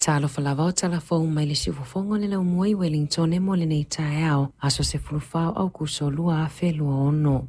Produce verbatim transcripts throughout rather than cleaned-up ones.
Talofa lava o talafou mai le siufofoga o le laumua i Wellington mo lenei taeao, aso sefulufa o Aukuso lua afe lua ono.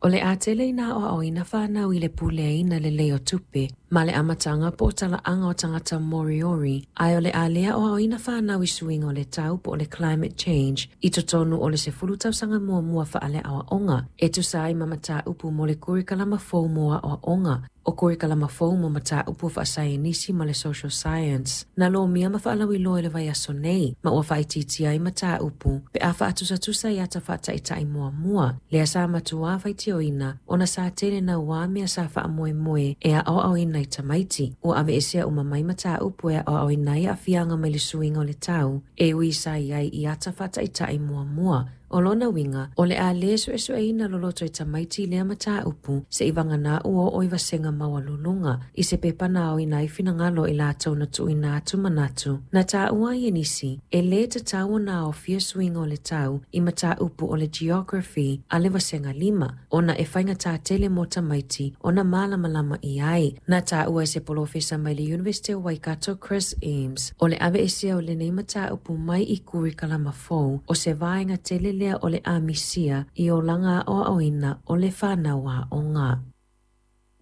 O le a tele ina aoaoina whanau i le puleaina lelei o tupe, ma le amataga po o talaaga o tagata Moriori, ae o le a le aoaoina whanau i suiga o le tau po o le climate change, i totonu o le sefulu tausaga muamua faale-aoaoga, e tusa ai ma mataupu mo le kurikalama fou mo aoaoga, o kurikalama fou mo mataupu faasaienisi ma le social science. Na lomia ma faalauiloa i le vaiaso nei, ma ua faaitiitia ai mataupu, pe a faatusatusa i ata faataitai muamua, lea sa matuā faitioina, ona sa tele nauā mea sa faamoemoe e aoaoina i tamaiti. Ua aveesea uma mai mataupu e aoaoina ai aafiaga mai le suiga o le tau, e ui sa i ai i ata faataitai muamua. O lona uiga, o le a le suesueina loloto i tamaiti lea mataupu seia vagana ua oo i vasega maualuluga, i se pepa na aoina ai finagalo i latou na tuuina atu manatu. Na taua ai e nisi, e lē tatau ona aofia suiga o le tau i mataupu o le geography a le vasega lima, ona e faigata tele mo tamaiti ona malamalama i ai. Na taua e se polofesa mai le University o Waikato Chris Eames, o le aveesea o lenei mataupu mai i kurikalama fou, o se vaega tele lea o le amisia i olaga aoaoina o le whanau aoga.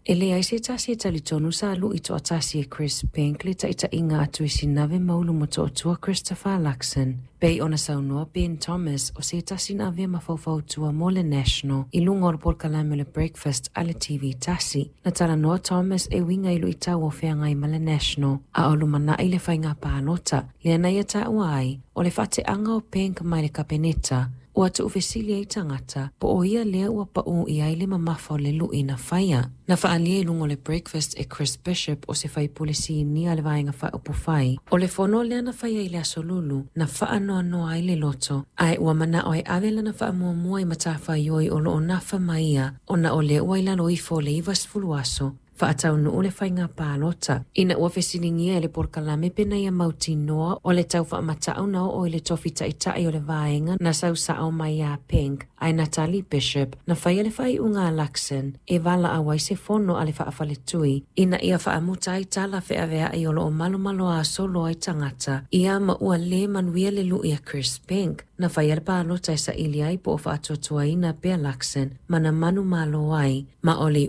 E leai se tasi e talitonu sa lu'i toatasi e Chris Penk le taitaiga a Tuisinave Maulu Motootua Christopher Luxon. Pei ona saunoa Ben Thomas o se tasi na avea ma faufautua mo le National i luga o le polokalame o le Breakfast a le T V tasi. Na talanoa Thomas e uiga i luitau o feagai ma le National a o lumanai le faiga palota. Lea na ia taua ai o le faateaga o Penk mai le kapeneta ua tuufesili ai tagata po o ia lea ua pau i ai le mamafa o le lui na faia. Na faaalia i luga o le Breakfast e Chris Bishop o se faipule sinia le vaega faaupufai. O le fono lea na faia i le aso Lulu na faanoanoa ai le loto, ae ua manao e ave lana faamuamua i matafaioi o loo nafa ma ia, ona o lea ua i lalo ifo o le ivasefulu aso faataunuu le faiga palota. Ina ua fesiligia e le polokalame pe na ia mautinoa o le tau faamatau na oo i le tofi taitai o le vaega na sausao mai ia Penk, ae Natalie Bishop na faia le faaiuga a Luxon e valaau ai se fono a le faafaletui ina ia faamuta ai tala feaveai o loo malomaloa solo ai tagata ia ma ua lē manuia le lui a Chris Penk. Na faia le palota e saili ai po o faatuatuaina pea Luxon ma na manumalo ai ma o le